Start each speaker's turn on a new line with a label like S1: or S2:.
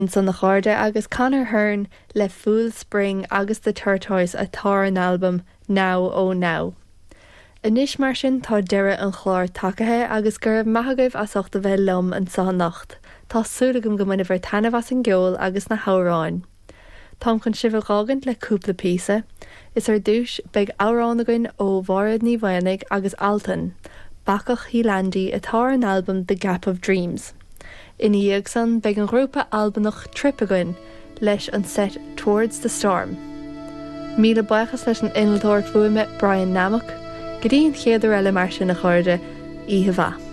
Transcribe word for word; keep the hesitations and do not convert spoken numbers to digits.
S1: Ansan a chairde agus Conor Hearn le Fool's Spring agus The Tortoise atá ar an albam Now Oh Now. Anois mar sin tá deireadh an chláir tagaithe agus go raibh maith agaibh as ucht a bheith liom anseo anocht. Tá súil agam go mbainfidh sibh taitneamh as an gceol agus na hamhráin. Táim chun sibh a fhágaint le cúpla píosa, Is ar dtús beidh amhrán againn ó Mhairéad Ní Mhaonaigh agus Altan, Bacach Healandy atá ar an albam The Gap of Dreams. Ina dhiaidh san beidh an grúpa Albanach Trip againn leis an set Towards the Storm. Míle buíochas leis an innealtóir fuaime Brian Nammock, go dtí an chéad uair eile mar sin a chairde, oíche mhaith.